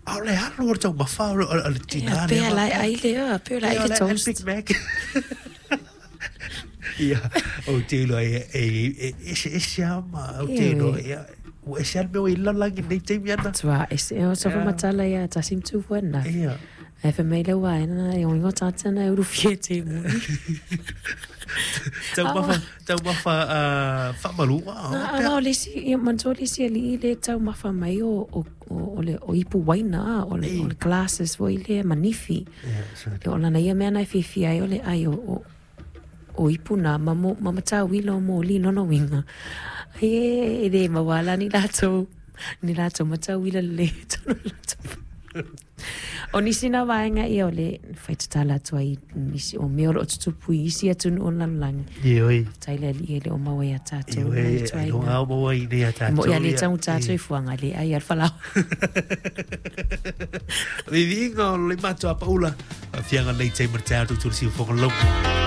A o le alu o le taumafa o le tinā lea. Pea la e ai lea, pea la ai le toast. Big Mac. Ia, ou te iloa e eseese lava ma ou te iloa, ia, ua ese lava le mea ua i ai le lalolagi i lenei taimi ana. Matua ese, o sofa matala ia tasi ma tu fua na. Ia. Ae fai mai le uaena, e oingo tata na e urufia e te moni. Taumafa, taumafa faamaluga. Na, o le isi, ia manatua le isi alii le taumafa mai o, o, o, le, o ipu waina, o le, o le glasses foi lea manifi. Yeah, o lana ia mea na e fiafia ai o le ai o, o, o ipu na ma, mo, ma matauila o moli lona uiga. Ai e, e le maua la ni latou, ni latou matauila lelei i totonu o latou. O nisi na vaega ia o le fai tatala atu ai nisi o mea o lo o tutupu i isi atunuu o le lalolagi. Ioe. Faafetai le Alii e le o maua ia tatou. Ioe, ailoga o maua i nei a tatou. Mo ia le tagu tatou i fuaga le ai al falao. Viviga o le matua paula. Fianga nei te ma te atu tu si fonga logo.